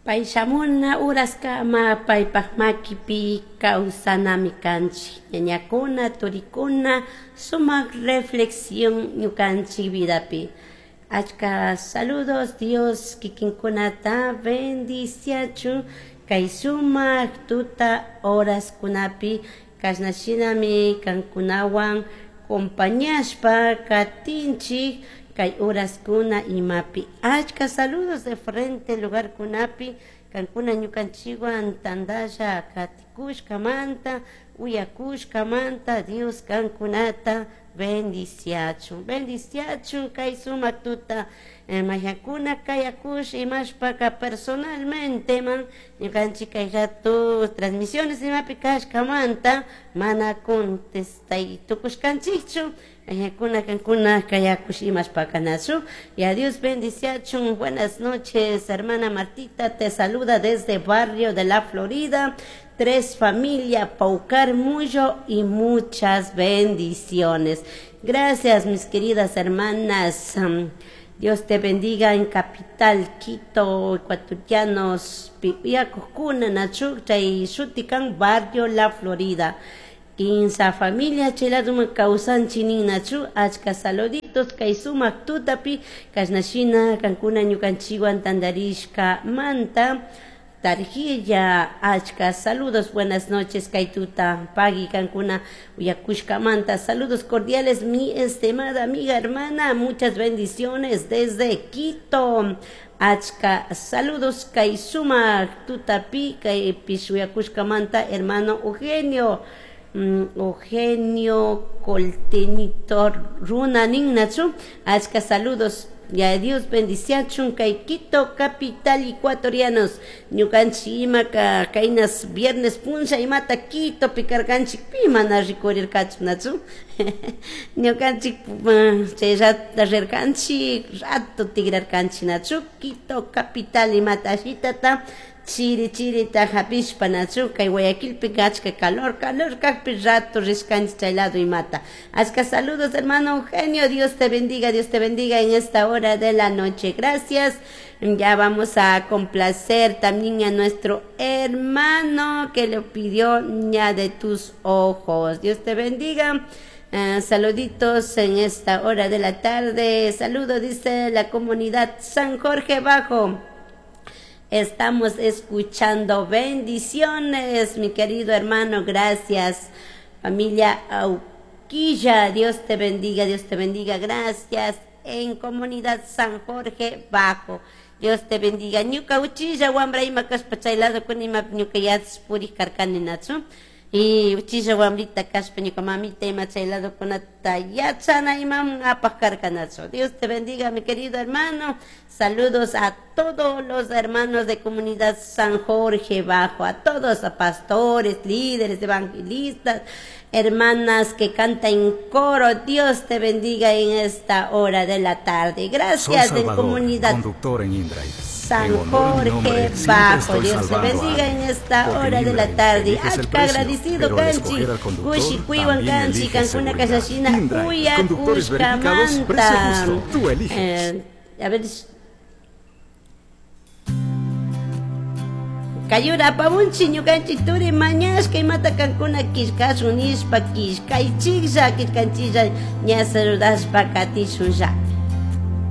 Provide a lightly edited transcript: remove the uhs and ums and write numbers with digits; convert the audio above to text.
Pai shamuna uraskama paypak makipi kawsanami kanchik. Ñañakuna, turikuna, sumak reflexión ñukanchik vidapi. Achka saludos Dios kikinkunata bendiciachun kay sumak tuta horaskunapi kashnashinami kankunawan compañashpa katinchik kay horaskuna imapi. Achka saludos de frente lugarkunapi kankuna ñukanchikwan tantalla katikushkamanta uyakushkamanta Dios kankunata bendiciachun bendiciachun kay sumak tuta mayakuna kayakush imashpaka personalmente man ñukanchik kay rato transmisiones imapi kashkamanta mana contestay tukushkanchikchu mayakuna kankuna kayakush imashpaka nachu. Y a Dios bendiciachun. Buenas noches, hermana Martita te saluda desde barrio de la Florida. Tres familia Paucar Muyo y muchas bendiciones. Gracias, mis queridas hermanas. Dios te bendiga en capital Quito, ecuatorianos, Piakukuna, Nachuk, chay shutikan, barrio La Florida. Quinsa familia cheladuma kawsanchi nachu achka saluditos kay sumak tutapi kashnashina kankuna ñukanchikwan tantarishka manta Tarjilla, achka saludos, buenas noches, Kaituta, Pagui, Cancuna, Uyakushka Manta, saludos cordiales, mi estimada amiga, hermana, muchas bendiciones desde Quito. Achka, saludos, Kaisuma, Tutapi, Pishuyakushka Manta, hermano Eugenio, Eugenio Coltenito, Runa Ninnachu, achka, saludos. Ya Dios bendiciachun kay Quito capital ecuatorianos. Ñukanchik imaka kaynas viernes punlla imata Quito pikarkanchik pi mana rikurirkachu nachu ñukanchik chay rato rirkanchik rato tigrarkanchik nachu Quito capital imata ashitata chiri chirita hapishpa nachu kay Guayaquilpi achka calor calor kaqpi rato rishkanchik chay lado imata. Achka saludos, hermano Eugenio. Dios te bendiga, Dios te bendiga en esta hora de la noche. Gracias. Ya vamos a complacer también a nuestro hermano que le pidió ya de tus ojos. Dios te bendiga. Saluditos en esta hora de la tarde. Saludo, dice la comunidad San Jorge Bajo. Estamos escuchando. Bendiciones, mi querido hermano. Gracias. Familia Auquilla, Dios te bendiga, Dios te bendiga. Gracias. En comunidad San Jorge Bajo. Dios te bendiga. Ñuka uchilla wambra ima kashpa chay lado kun ima ñuka yachas purij karkani nachu. Y uchilla wambrita kashpa ñuka mamita ima chay lado kunata yachana imam apaj karkanachu. Dios te bendiga, mi querido hermano. Saludos a todos los hermanos de comunidad San Jorge Bajo, a todos, a pastores, líderes, evangelistas, hermanas que cantan en coro. Dios te bendiga en esta hora de la tarde. Gracias. Soy en Salvador, comunidad conductor en InDrive. San En honor a mi nombre, Jorge siempre Bajo. estoy Dios te salvando a bendiga alguien. en esta Porque hora en de la InDrive tarde. eliges el Achka precio, agradecido, pero al Canchi. escoger al conductor, Cushi, Cuiwan, también Canchi, eliges Cancuna, seguridad. Cachachina, InDrive, Cuya, conductores verificados, precio Cuscamanta. justo. Tú eliges. A ver. Kayura apamunchi ñukanchik turi mañashka imata kankuna killkashun nishpa killkaychiklla killkanchilla ña saludashpa katishunlla.